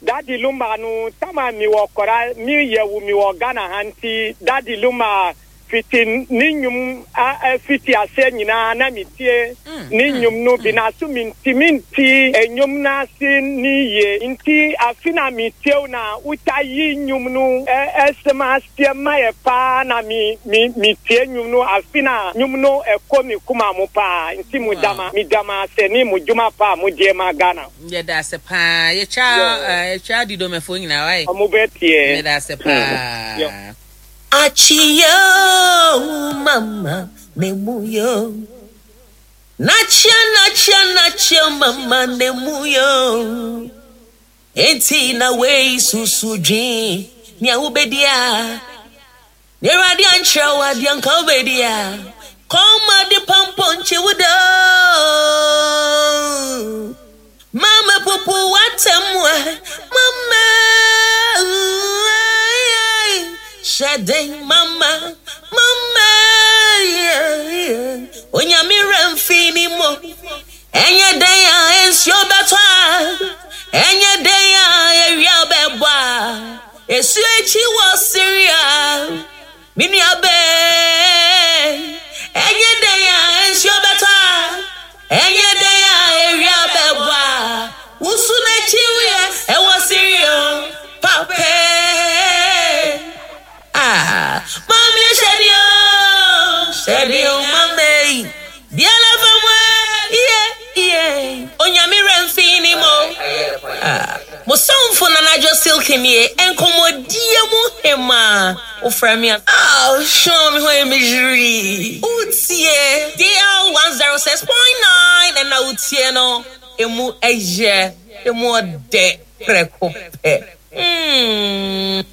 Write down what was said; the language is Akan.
Daddy Lumba no tama mi wɔ kɔra mi yɛ wu mi wɔ Ghana ha nti Daddy Lumba fiti ne nnwom fiti aseɛ nyinaa na mi tie ne nnwom no bi na so mi ntumi nti nnwom no ase ne yie nti afi na mi tie wo na wota yi nnwom no ɛsɛm aseɛ ma yɛ paa na mi mi mi tie nnwom no afi na nnwom no ɛkɔ mi kuma mu paa nti mo dama mi dama ase ne mo dwuma paa mo die ma Ghana. Yɛda ase paa. Yɛtwa yɛtwa Adidomɛfoɔ nyinaa wae. Ɔmo bɛ tie. Yɛda ase paa. Achiyo mama nemuyo Nachia nachia nachia mama nemuyo Enti na wei susu dwen nea wobɛdi a Na Awurade ankyerɛ wo adeɛ anka wobɛdi a Kɔma de pampɔnkye wo da Mama pupu w'atemmuɛ Mama Hyɛ den mama Mama Onyame werɛ mfi ne mo Ɛnyɛ dɛn a nsuo bɛtɔ a Ɛnyɛ dɛn a awia bɛbɔ a Esu akyi wɔ Syria Me nua bɛɛ Ɛnyɛ dɛn a nsuo bɛtɔ a Ɛnyɛ dɛn a awia bɛbɔ a Wusu n'akyi wiɛ ɛwɔ Syria Papa Ah, mami hyɛde o, hyɛde o, mami. Biara fam a, iye, iye. Onyame werɛ mfi ne mo. Ah, mo somfo Nana Adwo Silky nie, nkɔmmɔdie mu hemaa. Wofrɛ me a, ah, hwɛ me ho yɛ me hwirii. Wotie DL 106.9 ɛna wotie no, emu ɛyɛ, emu ɔdɛ prɛko pɛ. Mm.